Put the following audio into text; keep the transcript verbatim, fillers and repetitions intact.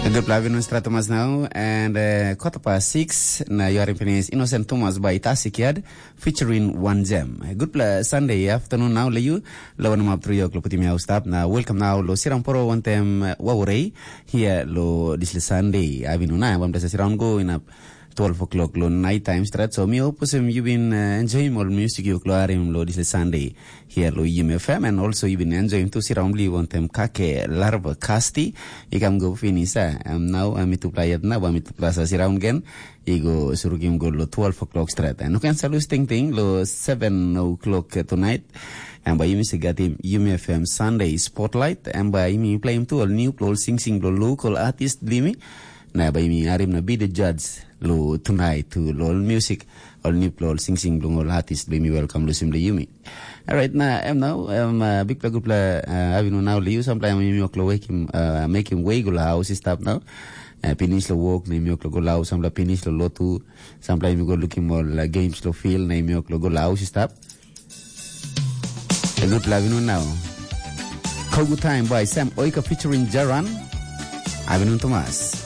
Good pla vinun stra Thomas now and uh, quarter past six na you are finished Innocent Thomas by Tasik Yad featuring One Gem. Good pla Sunday afternoon now le you lo one up three o'clock putim house stop na welcome now lo siram poro one time uh, wawarei here lo this Sunday. Avinuna bam dasa siram go in up twelve o'clock lo night time strat. So mi opusem you been uh, enjoying all music you kloarim lo this Sunday here lo Yum F M and also you been enjoying to siram li one time kake larva kasti. Ikam go finish ah. Am now am itu playat na bam itu plasa siram gen. Igo surukim go lo twelve o'clock strat. And you can salus ting ting lo seven o'clock tonight. And by you miss gatim Yum F M Sunday Spotlight. And by me play him to all new lo sing sing lo local artist blimi. Na bai mi harim na be the judge lo tonight to lo music all new lo sing sing lo artist be mi welcome lo sim lo yumi. Alright na em now em uh, big play good play uh, having now liu samplai mi yok lo wake him uh, make him wake lo house stop now. Uh, finish lo work na mi yok lo go lo house samplai finish lo lotu samplai mi go looking more like games lo feel na mi yok lo go lo house stop. Good play having now. Kogu time by Sam Oika featuring Jaran. Having Thomas.